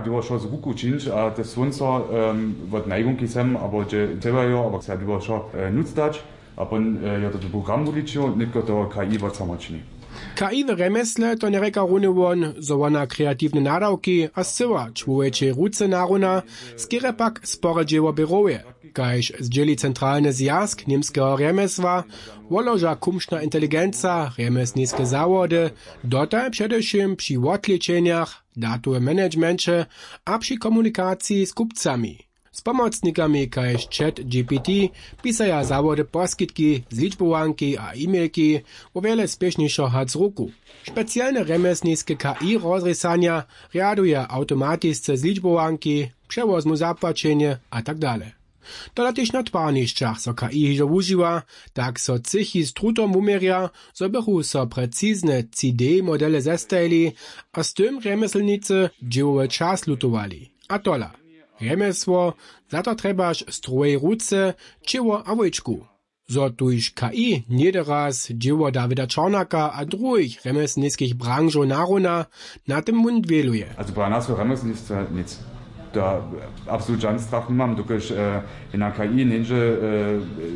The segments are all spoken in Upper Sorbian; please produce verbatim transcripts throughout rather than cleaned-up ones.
Dyrbjo wšo z ruku čińć a te słónco wot najgunki sem abo hdźe dźěłajo abo se dyrbjo wšo nutř dać. A pon jo to tu program wuličił nětko toho K I wot samo čini. K I w rjemjesle to njerjeka runje won, zo wona kreatiwne nadawki a scyła čłowječej ruce naruna, skerje pak spore dźěło běrowje, kaž zdźěli centralny zwjazk němskeho rjemjesła, woloža kumšna inteligenca rjemjesniske zawody, dotal předewšěm při wotlečenjach, datowe managemenće a při komunikaciji z kupcami. Z pomocnikami kaž chat G P T pisaja zawody poskitki z ličbowanki a e-mailki, wo wjele spěšnišo hac ruku. Specialne rjemjesniske K I rozrěsanja rjaduje awtomatisce z ličbowanki, přewozmu zapłaćenje a tak dale. Tola tež na twarnišćach so K I hižo wužiwa, tak so třěchi z trutom wuměrja, zo bychu so precizne tři D modele zestajili a z tym rjemjeslnicy dźěłowy čas lutowali. A tola: rjemjesło, za to trjebaš strowej ruce, ćěło a wójčku. Zo tuž K I něhdy raz dźěło Dawida Čornaka a druhich rjemjeslniskich branžow naruna, na tym wón dwěluje. Also pra nas w rjemjeslnictwje nic. To absolut žan strach nimam, dokelž jedna K I njeńdźe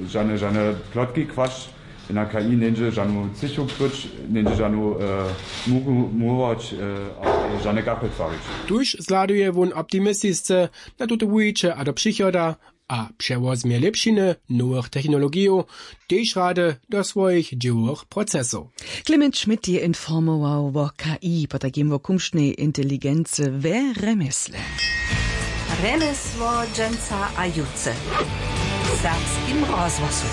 žane žane plotki kwašć, jedna K I njeńdźe žanu cychu kryć, njeńdźe žanu muchu murować a žane kachle twarić. Tuž zhladuje wón optimistisce na tute wuwiće a do přichoda, a přewozmje lěpšiny nowych technologijow tež rady do swojich dźěłowych procesow. Clement Schmidt je informował wo K I, potajkim wo kumšnej inteligency we rjemjesle. Rjemjesło dźensa a jutře w serbskim rozhłosu.